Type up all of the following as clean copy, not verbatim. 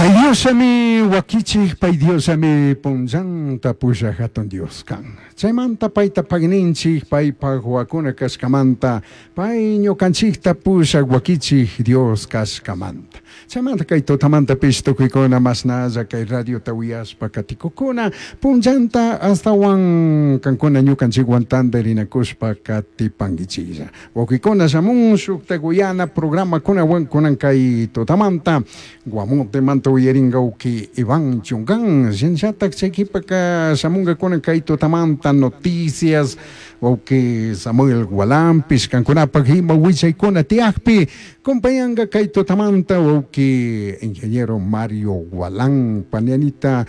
Pay Diosllami wakichij, pay Diosllami punllanta pushaj jatun Dios kan. Chaymanta payta pagninchij, paypaj huacuna kashkamanta, pay ñukanchikta pushaj wakichij Dios kashkamanta. Chaymanta kay tutamantapish tukuykuna mashnalla kay radiota uyashpa katikukuna, punllanta astawan kankuna ñukanchikwan tantarinakushpa katipankichiklla. Wawkikuna shamun shuktak uyana programakunawan kunan kay tutamanta Guamotemanta uyarinka wawki Iván Chungan, shinallatak chay kipaka shamunkakuna kay tutamanta noticias wawki Samuel Gualampish kankunapak ima willaykuna tiyakpi compañanka kay tutamanta wawki ingeniero Mario Gualán panianita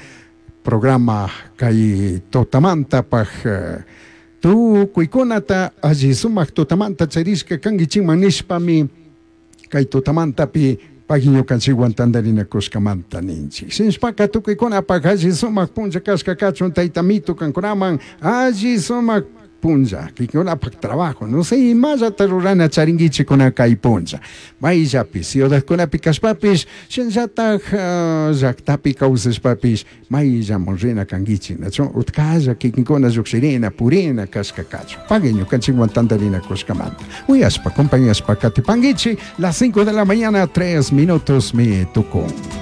programa kay tutamantapak tukuykunata alli sumak tutamanta charishka kankichikman nishpami kay tutamantapi pagui ñukanchikwan tantarinakushkamanta ninchik. Shinashpaka tukuykunapak alli sumak punlla kashka kachun tayta mitu kankunaman alli sumak punlla kikinkunapak trabajo no sé imallata rurana charinkichikuna kay punlla mayllapi ciudadkunapi kashpapish shinallatak llaktapi kawsashpapish mayllaman rina kankichik nachu utkalla kikinkuna llukshirina purina kashka kachun pagui ñukanchikwan tantarinakushkamanta uyashpa compañashpa katipankichik las 5 de la mañana 3 minutos mi tukun.